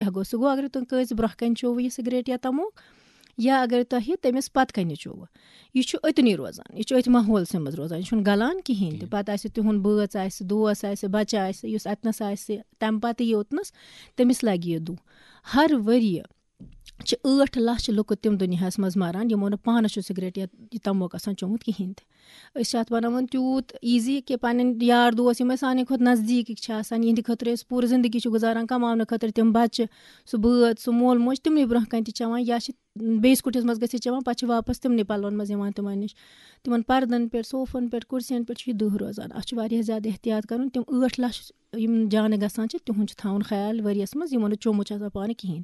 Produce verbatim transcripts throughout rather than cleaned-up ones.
کیٛاہ گوٚو؟ سُہ گوٚو، اگر تُہۍ کٲنٛسہِ برٛونٛہہ کَنہِ چوٚوٕ یہِ سِگریٹ یا تموک، یا اگر تۄہہِ تٔمِس پَتہٕ کَنہِ چوٚوٕ، یہِ چھُ أتنی روزان، یہِ چھُ أتھۍ ماحولسٕے منٛز روزان، یہِ چھُنہٕ گَلان کِہیٖنۍ تہِ۔ کِہیٖنۍ۔ پَتہٕ آسہِ تِہُنٛد بٲژ آسہِ، دوس آسہِ، بَچہٕ آسہِ، یُس اَتنَس آسہِ، تَمہِ پَتہٕ یہِ اوٚتنَس، تٔمِس لَگہِ یہِ دُہ۔ ہر ؤریہِ چھِ ٲٹھ لَچھ لُکہٕ تِم دُنیاہَس منٛز مَران، یِمو نہٕ پانَس چھُ سِگریٹ یا یہِ تموک آسان چوٚمُت کِہیٖنۍ تہِ۔ أسۍ چھِ اَتھ بَناوان تیوٗت easy کہِ پَنٕنۍ یار دوس، یِم اَسہِ سانہِ کھۄتہٕ نزدیٖکٕکۍ چھِ آسان، یِہِنٛدِ خٲطرٕ أسۍ پوٗرٕ زِندگی چھِ گُزاران، کَماونہٕ خٲطرٕ تِم بَچہٕ، سُہ بٲژ، سُہ مول موج، تِمنٕے برٛونٛہہ کَنہِ تہِ چٮ۪وان، یا چھِ بیٚیِس کُٹھِس منٛز گٔژھِتھ چٮ۪وان، پَتہٕ چھِ واپَس تِمنٕے پَلوَن منٛز یِوان تِمَن نِش۔ تِمَن پَردَن پٮ۪ٹھ، صوفَن پٮ۪ٹھ، کُرسِیَن پٮ۪ٹھ چھُ یہِ دُہ روزان۔ اَتھ چھُ واریاہ زیادٕ احتیاط کَرُن۔ تِم ٲٹھ لَچھ یِم جانہٕ گژھان چھِ، تِہُنٛد چھُ تھاوُن خیال ؤریَس منٛز، یِمو نہٕ چوٚمُت چھُ آسان پانہٕ کِہیٖنۍ۔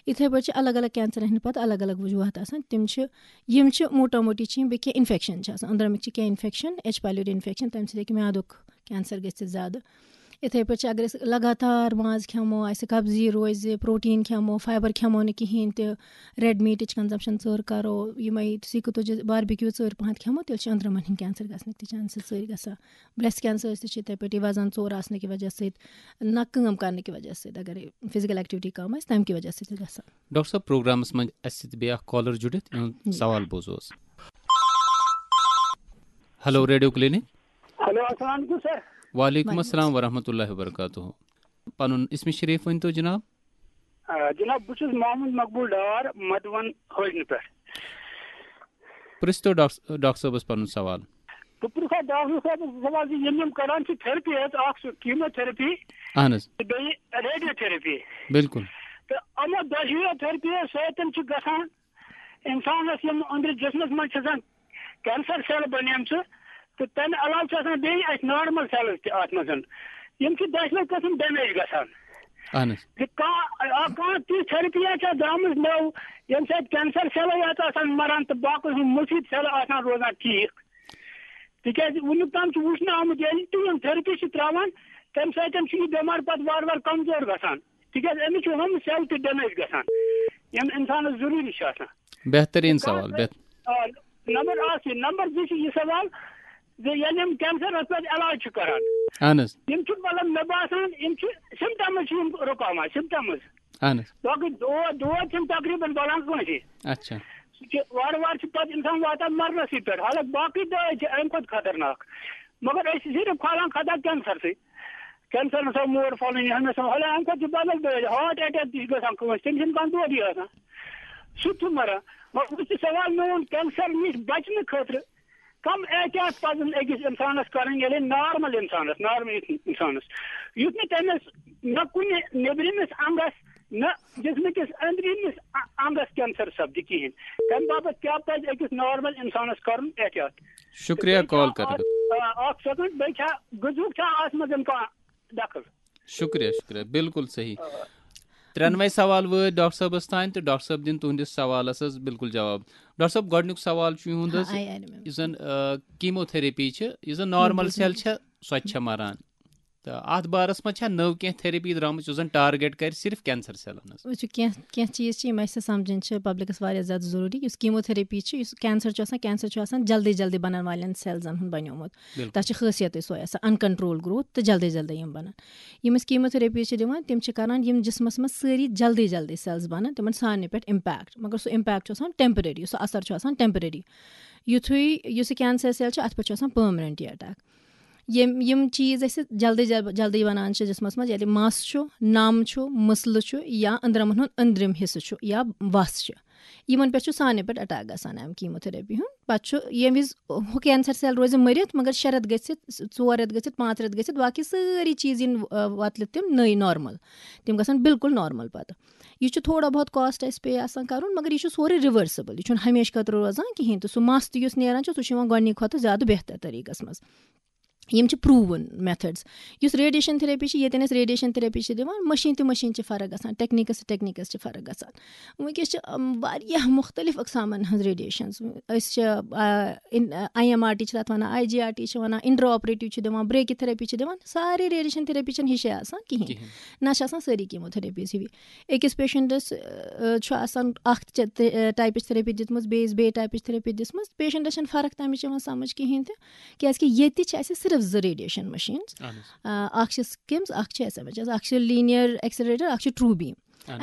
یِتھَے پٲٹھۍ چھِ الگ الگ کینسَرَن ہِنٛدۍ پَتہٕ الگ الگ وجوہات آسان۔ تِم چھِ، یِم چھِ موٹا موٹی چھِ یِم بیٚیہِ کینٛہہ اِنفٮ۪کشَن چھِ آسان، أنٛدرَمٕکۍ چھِ کینٛہہ اِنفٮ۪کشَن، ایچ پایلوری اِنفٮ۪کشَن، تَمہِ سۭتۍ ہیٚکہِ میادُک کینسَر گٔژھِتھ زیادٕ۔ یِتھَے پٲٹھۍ چھِ، اگر أسۍ لگاتار ماز کھٮ۪مو، اَسہِ قبضی روزِ، پروٹیٖن کھٮ۪مو، فایبر کھٮ۪مو نہٕ کِہیٖنۍ تہِ، ریڈ میٖٹٕچ کنزمپشن ژٔر کرو، یِمے سیٖکہٕ تُجہِ، باربیکیوٗ ژٔر پہنتھ کھٮ۪مو، تیٚلہِ چھِ أنٛدرمن ہٕنٛدۍ کینسر گژھنٕکۍ تہِ چانسز ژٔرۍ گژھان۔ برٛیسٹ کینسر تہِ چھِ یِتھَے پٲٹھۍ وزن ژوٚر آسنہٕ کہِ وجہ سۭتۍ، نہ کٲم کرنہٕ کہِ وجہ سۭتۍ، اگر فزیکل ایکٹیویٹی کم آسہِ، تمہِ کہِ وجہ سۭتۍ تہِ گژھان۔ ڈاکٹر صٲب، پروگرامس منٛز اسہِ سۭتۍ بیٚیہِ اکھ کالر جُڑِتھ، یِہُنٛد جی۔ سوال بوزو أسۍ۔ Hello, radio clinic. ہیلو، السلام علیکم سر۔ وعلیکم وعلیکم السلام ورحمۃ اللہ وبرکاتہ۔ پنُن اسم شریف ؤنۍ تو جناب۔ آ، جناب، بہٕ چھُس محمد مقبول ڈار، مدوَن حٲجنہٕ پٮ۪ٹھ۔ پرٛژھ تو ڈاکٹر، ڈاکٹر صٲبَس پَنُن سوال۔ بہٕ پرٛژھٕ ہا ڈاکٹر صٲبَس سوال زِ یِم یِم کران چھِ تھیرپی حظ، اکھ چھُ کیموتھیرپی اہن حظ۔ تہٕ بیٚیہِ ریڈیو تھیرپی۔ بِلکُل۔ تہٕ یِمو دۄشوٕیو تھیرپیو سۭتۍ چھُ گژھان اِنسانَس یِم أنٛدرٕ جسمَس منٛز چھِ آسان کینسر سیل بنیمژٕ، تہٕ تَمہِ علاوٕ چھِ آسان بیٚیہِ اَسہِ نارمل سیلٕز تہِ اَتھ منٛز۔ یِم چھِ دۄشوے قٕسم ڈیمیج گژھان۔ اہن حظ۔ زِ کانٛہہ، آ، کانٛہہ تِژھ تھیرپی چھےٚ درٛامٕژ نٔو، ییٚمہِ سۭتۍ کینسر سیلٕے یٲژ آسان مران تہٕ باقٕے ہُم مُفیٖد سیلہٕ آسان روزان ٹھیٖک۔ تِکیٛازِ وُنیُک تام چھُ وُچھنہٕ آمُت، ییٚلہِ تہِ یِم تھیرپی چھِ ترٛاوان، تَمہِ سۭتۍ چھُ یہِ بٮ۪مار پَتہٕ وارٕ وارٕ کمزور گژھان۔ تِکیٛازِ أمِس چھُ ہُم سیل تہِ ڈیمیج گژھان، یِم اِنسانَس ضروٗری چھِ آسان۔ بہتریٖن سوال، بہت۔ آ، نمبر اکھ چھُ، نمبر زٕ چھُ یہِ سوال زِ ییٚلہِ یِم کینسرس پٮ۪ٹھ علاج چھِ کران، اہن حظ۔ یِم چھِ، مطلب، مےٚ باسان، یِم چھِ سمٹمز چھِ یِم رُکاوان، سمٹمز۔ اہن حظ۔ باقٕے دود، دود چھِنہٕ تقریباً بلان کٲنٛسہِ۔ اچھا۔ سُہ چھُ وارٕ وارٕ چھُ پتہٕ انسان واتان مرنسٕے پٮ۪ٹھ، حالانکہ باقٕے دٲدۍ چھِ امہِ کھۄتہٕ خطرناک، مگر أسۍ چھِ صرف کھالان خطا کینسرسٕے۔ کینسر ہسا مور فلٲنی، ہُمہِ ہسا، حالانکہ اَمہِ کھۄتہٕ چھِ بدل دٲدۍ، ہارٹ اٹیک تہِ چھِ گژھان کٲنٛسہِ، تٔمِس چھِنہٕ کانٛہہ دودٕے آسان، سُہ تہِ چھُ مران۔ مگر وۄنۍ چھُ سوال میون، کینسر نِش بچنہٕ خٲطرٕ کم احتیاط پزن أکِس انسانس کرٕنۍ، یعنی نارمل انسانس، نارمل انسانس، یُتھ نہٕ تٔمِس نہ کُنہِ نیبرِمِس انگس نہ جسمہٕ کِس أنٛدرِمِس ا-، انگس کینسر سپدِ کِہیٖنۍ۔ تمہِ باپتھ کیٛاہ پزِ أکِس نارمل انسانس کرُن احتیاط؟ شُکریہ بیٚیہِ کال چھا کرنہٕ۔ اکھ، آ، اکھ سیکنڈ، بیٚیہِ چھا غذہُک چھا اتھ منٛز کانٛہہ دخل؟ شُکریہ، شُکریہ، بِلکُل صحیح۔ آ۔ ترٛٮ۪نوَے سوال وٲتۍ ڈاکٹر صٲبَس تام تہٕ ڈاکٹر صٲب دِن تُہٕنٛدِس سوالَس حظ بِلکُل جواب۔ ڈاکٹر صٲب، گۄڈٕنیُک سوال چھُ یِہُنٛد حظ، ہاں، I, I remember. یُس زَن، آ، کیموتھیرپی چھِ، یُس زَن نارمل بِلکُل سیل صحیح۔ چھےٚ، سۄ تہِ چھےٚ مَران۔ تہٕ اَتھ بارَس منٛز چھا نٔو کینٛہہ تھیرپی درٛامٕژ یُس زَن ٹارگیٹ کَرِ صرف کینسر سیلَن حظ؟ وٕچھِو، کینٛہہ، کینٛہہ چیٖز چھِ یِم اَسہِ سَمجھٕنۍ چھِ پبلِکَس واریاہ زیادٕ ضروٗری۔ یُس کیموتھیرپی چھِ، یُس کینسر چھُ آسان، کینسر چھُ آسان جلدی جلدی بَنَن والٮ۪ن سیلزَن ہُنٛد بَنیومُت۔ بِلکُل۔ تَتھ چھِ خٲصیتٕے سۄے آسان، uncontrolled growth تہٕ جلدی جلدی یِم بَنَن۔ یِم أسۍ کیموتھیرپی چھِ دِوان، تِم چھِ کَران یِم جسمَس منٛز سٲری جلدی جلدی سیلز بَنَن، تِمَن سارنٕے پٮ۪ٹھ اِمپیکٹ، مگر سُہ اِمپیکٹ چھُ آسان ٹیمپریری، سُہ اثر چھُ آسان ٹیمپریری۔ یُتھُے یُس یہِ کینسر سیل چھُ، اَتھ پٮ۪ٹھ چھُ آسان پٔرمننٹ یہِ اٹیک۔ یِم، یِم چیٖز أسۍ جلدی جل-، جلدی بَنان چھِ جسمَس منٛز، ییٚلہِ مَس چھُ، نَم چھُ، مٕسلہٕ چھُ یا أنٛدرَمَن ہُنٛد أنٛدرِم حصہٕ چھُ یا وَس چھِ، یِمَن پٮ۪ٹھ چھُ سانہِ پٮ۪ٹھ اٹیک گژھان اَمہِ کیموتھیرپی ہُنٛد۔ پَتہٕ چھُ ییٚمہِ وِزِ ہُہ کینسر سیل روزِ مٔرِتھ، مگر شےٚ رٮ۪تھ گٔژھِتھ، ژور رٮ۪تھ گٔژھِتھ، پانٛژھ رٮ۪تھ گٔژھِتھ، باقٕے سٲری چیٖز یِن، آ، وۄتلہِ تِم نٔے نارمل۔ تِم گژھن بِلکُل نارمل پَتہٕ۔ یہِ چھُ تھوڑا بہت کاسٹ اَسہِ پے آسان کَرُن، مگر یہِ چھُ سورُے رِوٲرسِبٕل، یہِ چھُنہٕ ہمیشہِ خٲطرٕ روزان کِہیٖنۍ تہٕ سُہ مَس تہِ یُس نیران چھُ، سُہ چھُ یِوان گۄڈٕنِکۍ کھۄتہٕ زیادٕ بہتر طریٖقَس منٛز۔ یِم چھِ پروٗوٕن میتھڈز۔ یُس ریڈیشن تھیرپی چھِ، ییٚتٮ۪ن أسۍ ریڈیشن تھیرپی چھِ دِوان، مٔشیٖن تہِ مٔشیٖن چھِ فرق گژھان، ٹیکنیکس ٹیکنیکس چھِ فرق گژھان۔ وٕنکیٚس چھِ، ام، واریاہ مُختٔلِف اقسامن ہٕنٛز ریڈیشنز۔ أسۍ چھِ، آ، اِن-، آی ایم آر ٹی چھِ تَتھ وَنان، آی جی آر ٹی چھِ وَنان، انڈرا آپریٹو چھِ دِوان، بریکی تھیرپی چھِ دِوان۔ سارے ریڈیشن تھیرپی چھَنہٕ ہِشے آسان کِہیٖنۍ۔ کِہیٖنۍ۔ نہ چھِ آسان سٲری کیموتھیرپیز ہِوی۔ أکِس پیشنٹس، آ، چھُ آسان اکھ چ-، تہِ-، آ، ٹایپٕچ تھیرپی دِژمٕژ، بیٚیِس بیٚیہِ ٹایپٕچ تھیرپی دِژمٕژ۔ پیشنٹس چھَنہٕ فرق تَمِچ یِوان سمجھ کِہیٖنۍ تہِ۔ کیٛازِکہِ ییٚتہِ چھِ اَسہِ صرف زٕ ریڈیشن مشیٖنز۔ اہن حظ۔ آ، اکھ چھِ سِکِمز، اکھ چھِ ایس ایم ایچ ایس، اکھ چھِ لینیر ایکسلریٹر، اکھ چھِ ٹروٗ بیٖم۔